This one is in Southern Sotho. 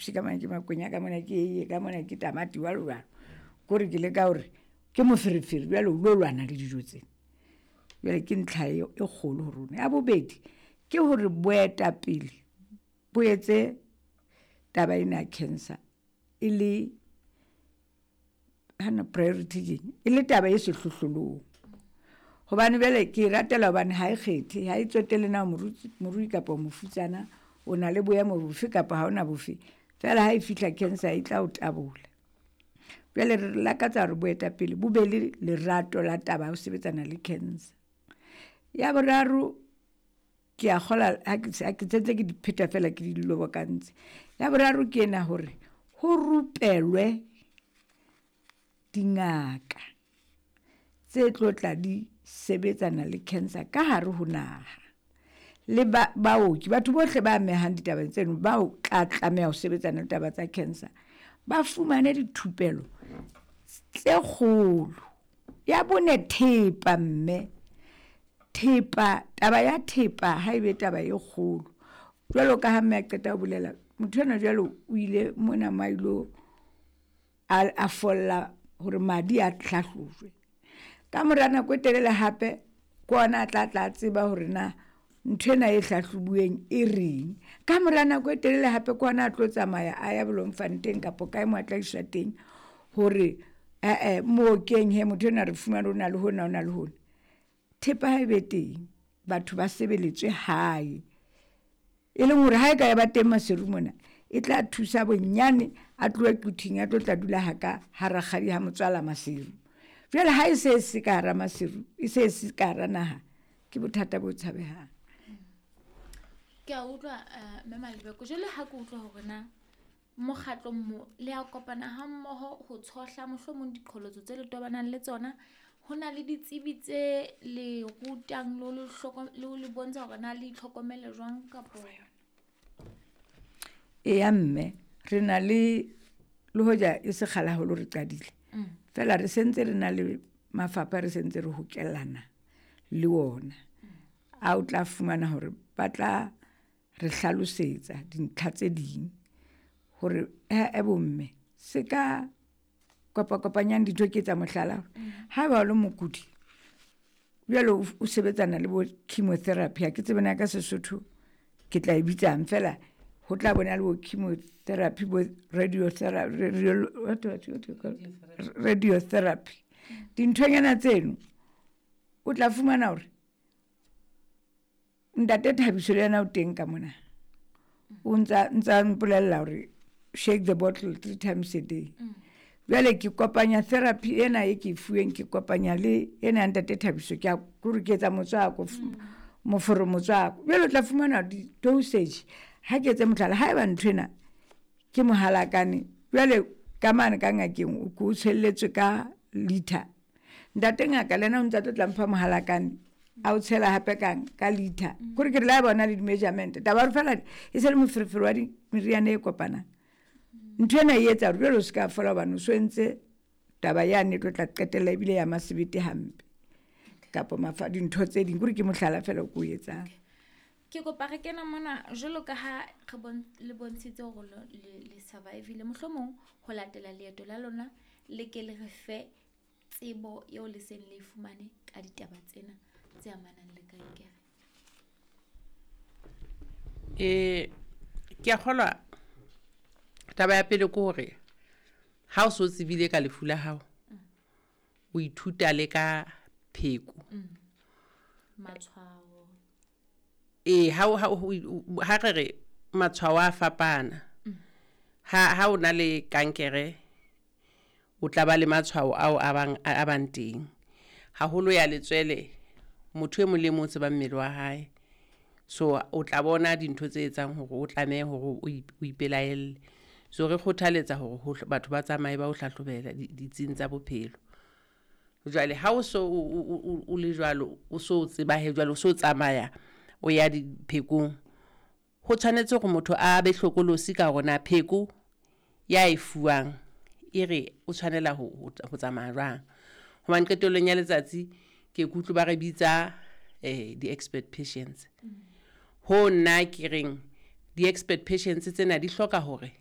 chips, ka mona ke makwenya, ka mona ke eiye, ka mona ke tamati, jwalo jwalo. Kore ke leka hore ke moferefere, jwale o lo lwana le dijo tsena. Jwale ke ntlha e kgolo ho rona. Ya bobedi ke hore boetapele bo etse taba ena ya cancer e le hana priority keng, e le taba e sehlohlolong. Hobane jwale ke e ratela hobane ha e kgethe, ha e tsotelle na morui kapa mofutsana, o na le boemo bofe kapa ha ona bofe. Feela ha e fihla cancer e tla o tabola. Jwale re lakatsa hore boetapele bo be le lerato la taba ya ho sebetsana le cancer. Ya boraro, ke a kgola ha ke sentse ke di pheta fela ke di lobokantse. Ya boraro ke ena hore ho rupelwe dingaka tse tlo tla di sebetsana le cancer ka hare ho naha. Le baoki, batho bohle ba amehang ditabeng tseno, bao tla tlameha ho sebetsana le taba tsa cancer, ba fumane dithupelo tse kgolo. Ya bone, thepa mme. Thepa, taba ya thepa ha ebe taba e kgolo. Jwalo ka ha mme a qeta ho bolela, motho enwa jwale o ile mona mo a ilo a folla hore madi a hlahlojwe. Ka mora nako e telele hape ke ona a tla tla tseba hore na ntho ena e hlahlobuweng e reng. Ka mora nako e telele hape ke ona a tlo tsamaya a ya Bloemfontein kapa kae mo a tla iswa teng hore mookeng he motho enwa re fumane o na le hona, o na le hona. Thepa ha e be teng, batho ba sebeletswe hae. E leng hore ha e ka ya ba teng Maseru mona, e tla thusa bonyane a tlohe Quthing a tlo tla dula ha ka ha rakgadi ha motswala Maseru. Jwale ha e se se ka hara Maseru, e se se ka hara naha, ke bothata bo tshabehang. Ke a utlwa mme Malibeko, jwale ha ke utlwa hore na mokgatlong mo le a kopana ha mmoho ho tshohla mohlomong diqholotso tse le tobanang le tsona, ho na le ditsebi tse le rutang le ho le bontsha hore na le itlhokomele jwang kapo? Eya mme, re na le hoja e se kgale haholo re qadile. Feela re sentse re na le mafapha, re sentse re hokellana le ona. A o tla fumana hore ba tla re hlalosetsa dintlha tse ding hore bomme se ka kopakopanyang dintho. Ke etsa mohlala, ha ba o le mokudi jwale o sebetsana le bo chemotherapy, ha ke tsebe na ka Sesotho ke tla e bitsang, fela ho tla bona le bo chemotherapy, bo radiotherapy, dinthonyana tseno o tla fumana hore ntate Thabiso le yena o teng ka mona, o ntsa mpolella hore shake the bottle 3 times a day. Jwale ke kopanya therapy ena e ke fuweng, ke kopanya le ena ya ntate Thabiso, ke a kore ke etsa motswako, moforo motswako. Jwale o tla fumana di-dosage. Ha ke etse mohlala, haeba ntho ena ke mohalakane, jwale ka mane ka ngakeng o ko tshelletswe ka liter, ntate ngaka le yena o ntsa tlo tla mpha mohalakane a o tshela hape ka liter. Kore ke re la bona le di-measurement, taba hore fela e se le moferefere wa meriana e kopanang. Ntho ena e etsa hore jwale o se ka fola hobane o so entse taba yane e tlo tla qetella ebile ya masebete hampe kapa mafa dintho tse ding. Kore ke mohlala fela o ko o etsang. Ke kopa re kena mona jwalo ka ha re le bontshitse hore le survive-ile, mohlomong ho latela leeto la lona le ke le re fe tsebo eo le seng le fumane ka ditaba tsena tse amanang le kankere. Ke a kgolwa taba ya pele ke hore ha o so tsebile ka lefu la hao, o ithuta le ka pheko. Matshwao. Ha re re matshwao a fapana. Ha o na le kankere, o tla ba le matshwao ao a bang teng. Haholo ya letswele, motho e mong le mong o tseba mmele wa hae. So o tla bona dintho tse etsang hore o tlamehe hore o ipelaelle. So re kgothaletsa hore batho ba tsamaye ba o hlahlobela ditsing tsa bophelo. Jwale ha o so o le jwalo, o so tseba he jwale, o so tsamaya o ya diphekong, ho tshwanetse hore motho a be hlokolosi ka hore na pheko ya e fuwang e re o tshwanela ho tsamaya jwang. Hobane qetellong ya letsatsi ke kutlwe ba re bitsa di-expert patients. Ho nna ke reng di-expert patients tsena di hloka hore